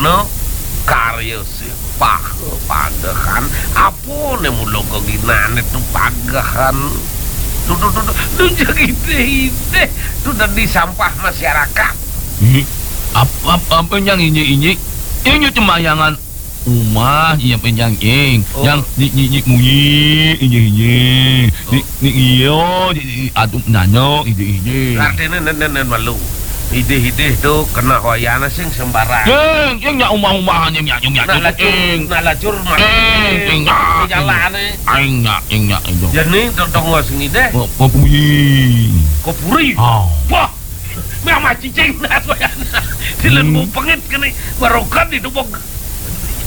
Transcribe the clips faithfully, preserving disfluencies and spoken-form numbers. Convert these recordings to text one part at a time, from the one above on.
No, karya sing paha pagehan, apa né mula geginané tu pagehan. Duh, duh, duh, duh, duh, jeg idih-idih, tu dadi sampah masyarakat. Ih, ap-, ap-, apa nyang injik-injik? Injik cembayangan umah, iya, apa nyang ing. Oh. Nyang nyik, nyik, nyik munyi, injik-injik. Nyik, nyik iya, nyik, nyik adup nyanyo, injik-injik. Artiné nén, nén, nén malu. Idih-idih tu keneh wayahné sing sembarang. Ing, ing nyak umah-umahan, ing nyak, ing nyak, nak lacur, ing. Nak lacur, ing, ing nyak, di jalané. Ing nyak, ing nyak, ing nyak. Jani dodong sing idih. Ko-, kopuri. Kopuri? Ah. Wah, mama cicing nas wayahné. Silen. Hmm. Bau pengit kéné, barokan di dubok.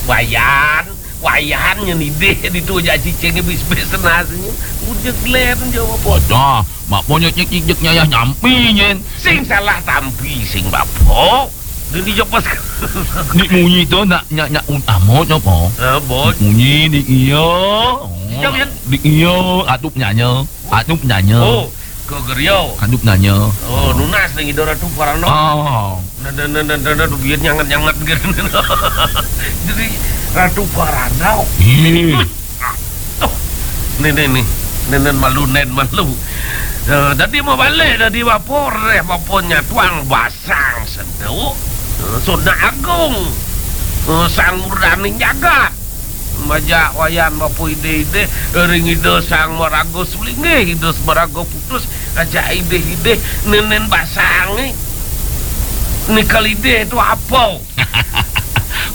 Wayan. Wayan nyén idih ditu jak cicingé bis-bis tenasnya. Ujeg len jawab. Wadah, mak monyet nyek ijek nyayah nyampi nyén. Sing salah tampi sing bapa. Dini jopas. Dik munyi tu nak nyak nyak utama napa? Ha, bot. Dik munyi dik iya. Jam, Yan. Dik iya, adup nyanyo. Adup nyanyo. Oh. Ka geria. Kadup nanya. Oh, nunas ning ida Ratu Parana. Oh. Nada, nada, nada, nada, biar nyangat-nyangat gitu. Jadi, Ratu Parana. Hmm. Aduh. Nih, nih, nih. Nenen malu, nen malu. Eh, dadi mau balik, dadi bapa, reh bapa nyatuang basang seduk. Eh, Sunda Agung. Eh, Sang Murdaning Jagat. Majak wayan bapa idih-idih, ring ida Sang Maraga Sulinggih, ida Maraga Putus, ajak idih-idih, nenen basangé. Nikal idih tu apa?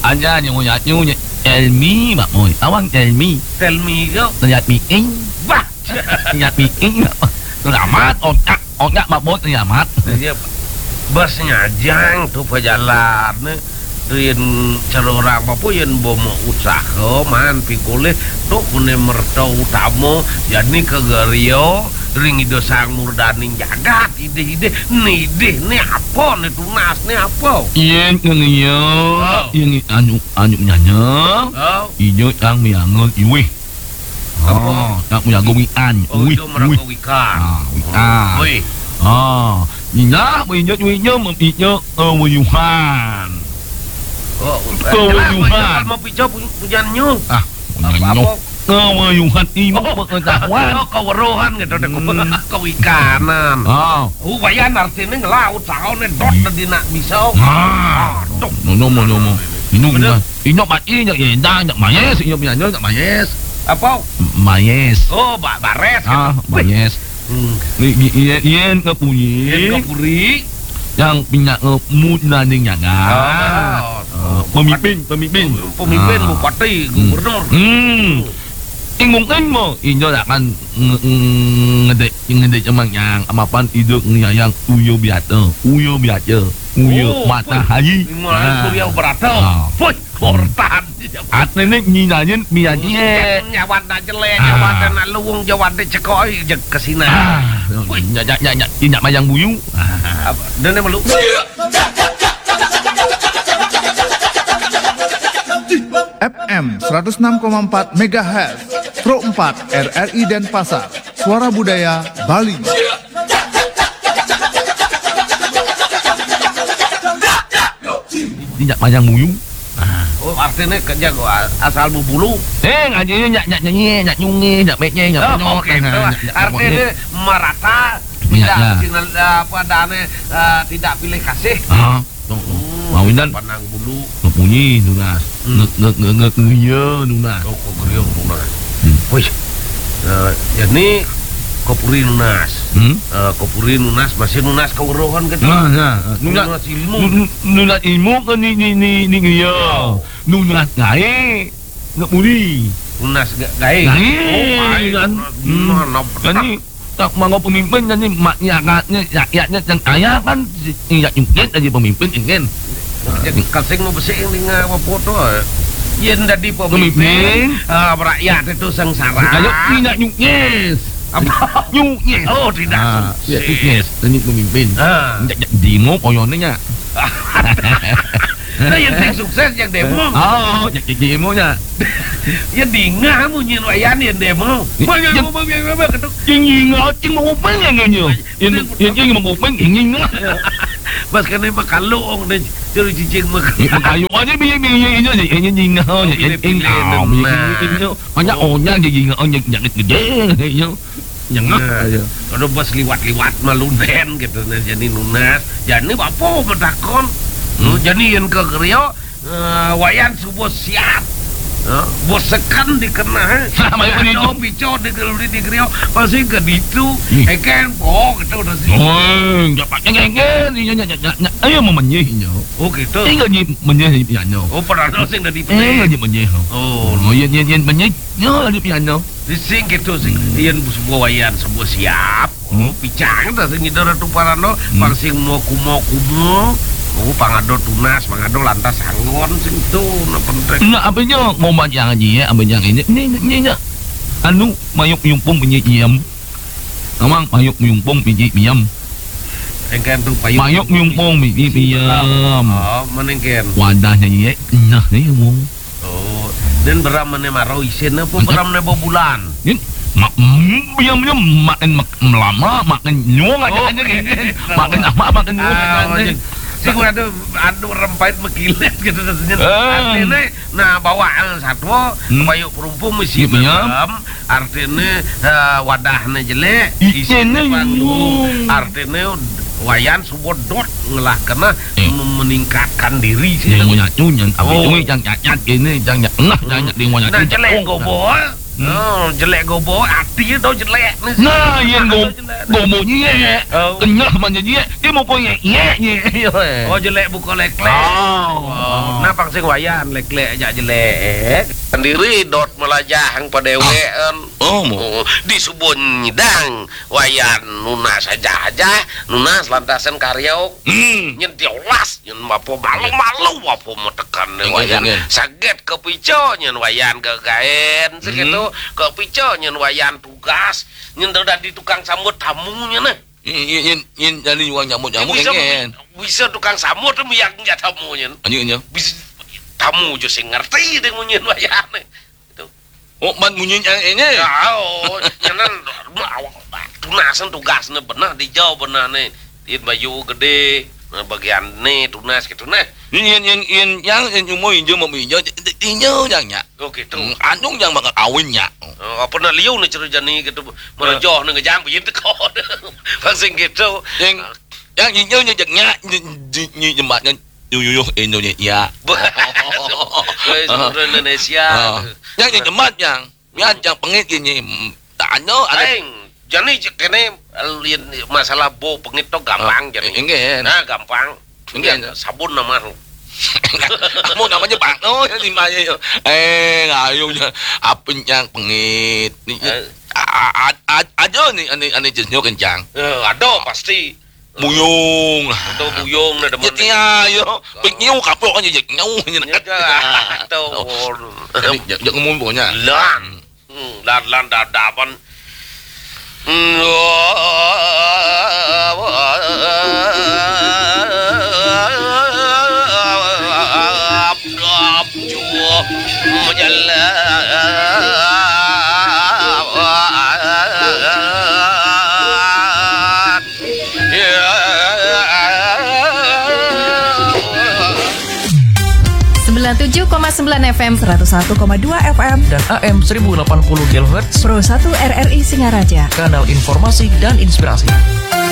Anya nyu nyu nyu Elmi, Mak Moy. Awang Elmi. Telmi kau. Lihat miing. Bah. Lihat miing, Mak Moy. Selamat, otak. Onyaq mabot nyamat. Iya, bas nyajang tu pajalan, yen cara orang apa yen bomo usaha, man pikulih, tu kune merta utama, jani kegerio, ring Ida Sang Murdaning jagat, idih-idih, nidih ni apa, ni tunas ni apa? Yen ngenia, oh, yen anu, anu nyanya, oh, ijo yang miangun iwih. Apa? Ah, nak menjaga wian. Oh, wih, itu merangkau wih. Wikan. Ah, wikan. Wih. Ah, nina, wih, nyo, wih, nyo, wih, nyo, eh, wuyuhan. Oh, kewuyuhan. Mau pica pu-, pujan nyu. Ah, pujan nyu. Apa? Kewuyuhan, ilmu pengetahuan. Oh, keweruhan gitu deh. Hmm. Kewikanan. Ah. Oh, wayan artinya ngelaut, saone dot, hmm, tadi nak bisa. Ah. Aduh. No, no, no, no, no. Inung, bener. Inyo mat i, inyo yendang, inyo mayes, inyo penyanyo, inyo mayes. Apa? M-, mayes. Oh, ba-, bares. Ah, kan? Wih. Mayes. Hmm. Ni, ni, iye, iye ngepuri. Iye ngepuri. Yang pinyak ngemut nanding nyaga. Oh, oh, pemimpin, pemimpin. Pemimpin, ah, bupati, hmm, gubernur. Hmm. Ing mungkin mo, inyo akan nge-, nge-, ngedek, ngedek cemang yang amapan iduk ngeyayang uyo biata, uyo biata, uyo, oh, matahari. Wih, matahari. Ah. Surya berata. Ah. Wih. Kortan. Atene nyinanyen miyaji. Nyawan dak jelek, ah, nyawan dak luwung, nyawan dak cekoi, jeg kesina. Ah, wih, nyak, nyak, nyak, nyak, nyak mayang buyu. Ah. Apa? Dene melu. F M seratus enam koma empat megahertz, Pro empat R R I Denpasar, Suara Budaya Bali. Nyak mayang buyu. Ah. Oh, artinya kerja gua asal bubulu. Eh, ngaji nyak, nyak nyanyi, nyak nyungi, nyak meknya, nyak, oh, ponyok, oke, nah, nyak, nyak, artinya ponyok. Merata, iya, tidak, iya, sinan, eh, apa, dane, eh, tidak pilih kasih. Ah, tuh, tuh. Hmm, mau indan. Pandang bulu. Ngebunyi, tuh, nah. Hmm. Nge-, nge-, nge-, nge-, iya, nunas. Oh, kok gerio nunas. Hmm. Wih. Eh, ya, ni kopuri nunas. Hmm? Eh, kopuri nunas, masih nunas keweruhan gitu. Nah, nah, nah. Nunas, nunas ilmu. Nu-, nu-, nunas ilmu ke ni, ni, ni, ni, iya. Oh. Nunas gae, nggak muli. Nunas ga-, gae. Gae, oh, gae, kan? Nunas, hmm, nunas, kan ni, tak mangga pemimpin, kan ni, mak, rakyatnya, rakyatnya yang kaya, kan? Ingat nyungkit aja pemimpin, ingin. Jadi, kasing mau besik yang dengar apa foto, eh. Yen dadi pemimpin, pemimpin, ah, rakyat itu sengsara. Kalau tidak nyuknyes. Apa? Nyuknyes. Oh, tidak. Ah, sukses. Tidak nyuknyes. Ini pemimpin. Ah. Nyak, nyak demo koyone nya. Nah, yang sing sukses yang demo. Oh, nyak, nyak demo nya. Ya dingah munyi wayan yang demo. Banyak yang ngomong yang apa ketuk. Yang ingat, yang mau ngomong yang ngenyo. Yang, yang, yang mau ngomong yang ingat. Pas kena apa kalau ong deh. Cicing mah. Ayo aja biye-biye ini aja ini nyingah aja ini ini. Banyak orang jadi ngah aja jadi gede ini. Nyengah aja. Ada bos liwat-liwat malunen gitu nah jadi nunas. Jadi apa matakon? Hmm. Jadi yang ke Rio, eh, Wayan subuh siap. Eh, bos sekan dikena, eh. Sama yang ini. Ada pico di Rio, pasti ke ditu. Eken, oh, kita udah sih. Oh, dapat yang eken ini nya nya nya. Ayo memenyihnya. Oh gitu. Tinggal di menyih piano. Oh, padahal sing dari. Eh, di menyih. Oh, iya iya iya menyih. Yo di piano. Di sing gitu sing. Yen sebuah Wayan sebuah siap. Oh, picang ta sing ngidar Ratu Parano, pang sing mau kumo kumo. Oh, pangado tunas, pangado lantas anggon sing tu, na penting. Nah, apa nya ngomong yang aja ya, apa yang ini, ini, ini, ini. Anu, mayuk yumpung bunyi iam. Amang, mayuk yumpung bunyi iam. Engkan tu payuk. Mayuk yumpung bunyi iam. Oh, menengken. Wadahnya iya, nah, ini ngomong. Oh, dan beram mana maro isin apa beram mana bulan? Ini mak biam biam makin melama makin nyuang aja aja gini. Makin lama makin nyuang aja. Si gua ada ada rempait mekilet gitu rasanya. Artinya nah bawa satwa payu perumpung mesti beram. Artinya eh, wadahnya jelek, isinnya panggung. Artinya Wayan subuh dot ngelah kena meningkatkan diri sih. Yang punya tu yang apa tu yang nyak nyak ini yang nyak nah yang nyak di mana. Nah jelek gobo. Oh, jelek gobo, hati tu jelek ni. Nah, yang go gobo ni ya. Kenyah mana dia? Dia mau kau ye ye ye. Oh, jelek buka lek lek. Oh, nah pang sing Wayan lek lek aja jelek. Sendiri dot melajah yang pada dewean. Oh, di subuh nyidang Wayan nunas aja aja, nunas lantasan karyo. Hmm. Nyen diolas, nyen apa malu-malu apa mau tekan nih Wayan. Saget kepico nyen Wayan gagaen segitu, kepico nyen Wayan tugas, nyen dadi tukang sambut tamu nyen nah. Nyen nyen nyen jadi wong nyambut nyambut engen. Bisa tukang sambut tuh yang tamu nyen. Anjing anjing. Bisa tamu jo sing ngerti deh nyen Wayan. Gitu. Oh, man munyi yang ini. Ya, oh, nyenan tunasan tugasnya benar di jauh benar nih. Di bayu gede, nah, bagian nih tunas gitu nah. Ini yang yang yang yang yang cuma injo mau injo injo yang nya. Oh gitu. Hmm, anjung yang bakal kawin nya. Oh, apa nak liu nih cerita nih gitu. Merejoh nih ngejang biar teko. Langsung gitu. Yang yang injo nya jeknya nyi jembatnya yuyuh Indonesia. Indonesia. Yang jembat yang Ya, yang pengit gini. Tanya ada. Aing, jadi kene masalah bau pengit tuh gampang jadi. Enggak. Nah, gampang. Enggak. Sabun nama. Kamu namanya Bang. Oh, ya di mana ya? Eh, ayo ya. Apa yang pengit? Nih, aja nih ane ane jenisnya kencang. Eh, ada pasti. Buyung. Atau buyung na demen. Iya, iya. Pik nyiu kapok aja jek nyau. Iya, dah. Tahu. Jadi jek ngomong pokoknya. Lan. Hmm, lan lan dadapan. Sembilan tujuh koma sembilan F M, seratus satu koma dua F M, dan A M seribu delapan puluh kilohertz, Pro satu R R I Singaraja. Kanal informasi dan inspirasi.